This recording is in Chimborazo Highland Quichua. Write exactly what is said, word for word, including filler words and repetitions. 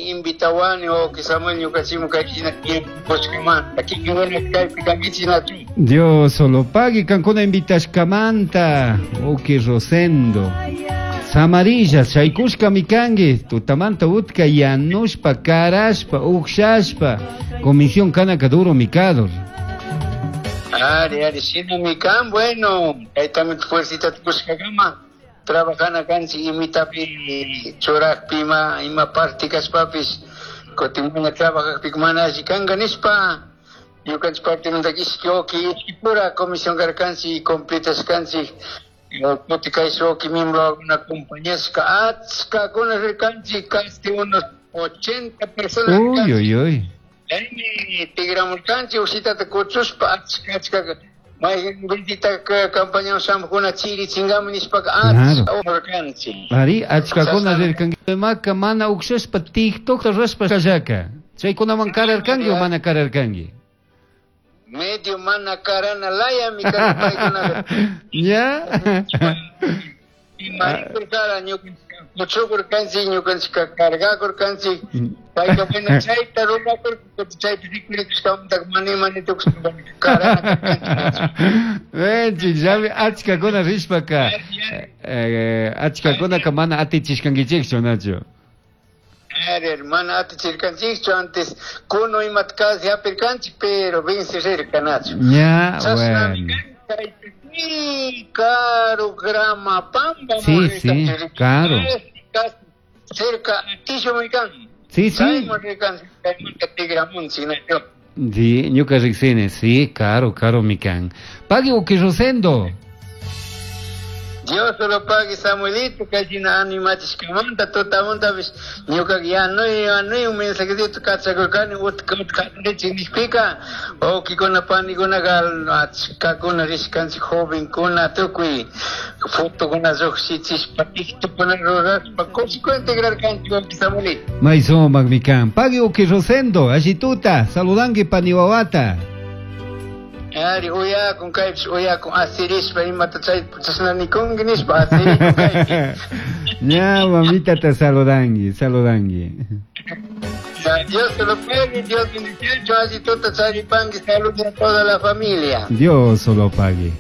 Invitawani wawqi Samuel ñukanchikman kayshina tiempo kushkamanta kikinkuna kaypi kankichik nachu. Dios solo pagui kankuna invitashkamanta, wawqi Rosendo. Samarilla, chaykushkami kanki, tutamanta utka yanushpa, karashpa, ukshashpa, comisión kanaka duro mikador. Ari, ari, shinami kan, bueno, kaytami fuercita kushkakama, trabajana kanchik imitapi churakpi ima, ima parte kashpapish, kutin mana trabajakpika mana alli kanka nishpa, ñukanchik partimanta ishki wawqi, ishki pura comisión karkanchik, completashkanchik, kuti kay wawqi miembro acompañashka, achkakuna rirkanchik, casi unos ochenta personas. Uy, uy, uy. Chaymi tigramurkanchik ushitata kuchushpa achka achka mayqin visita campañawan shamuqkuna chirichinkami nishpaka achka rirkanchik. Ari, achkakuna rirkanki maka mana ukshashpa TikTokta rurashpa kallaka. Chaykunaman kararkanki o mana kararkanki? Medio mana karana layami karka paykunaqa. Ya. Imakurkara ñukanchik kuchukurkanchik ñukanchik cargakurkanchik payka bueno chayta rurakurka chaypi rikurikushkamanta mana imani tukushpa karana karkanchik. Venchi, llami achkakuna rishpaka achkakunaka mana atichishkankichikchu nachu. Ari, mana atichirkanchikchu antes kuno imata casi hapirkanchik pero vencerirka nachu. Ya, bueno. Caro grama pamba. Sí, sí, caro. Cerca Tisho mikan. Sí, sí. Sí, ñuka riksini, sí, caro, caro mikan. Pagui wawqi Rosendo. Dios lo pague Samuelito, kayshina animachishkamanta tutamantapish ñuka yanuy yanuy un mensajecito kachakurkani utka utka richik nishpika wawqikuna panikunaka achkakuna rishkanchik jovenkuna tukuy fotokuna llukshichishpa TikTokuna rurashpa kushikuna integrarkanchik wawqi Samuelito. May sumak mikan. Pagui wawqi Rosendo, allituta, saludanki pani wawata. Ari, uyakun kaypish uyakun asirishpa imata chay chashna nikunki nishpa asirikun kaypi. Ya, mamita te saludangi, saludangi. Dios te lo pague, Dios bendice, allituta charipanki, saludos a toda la familia. Dios lo pague.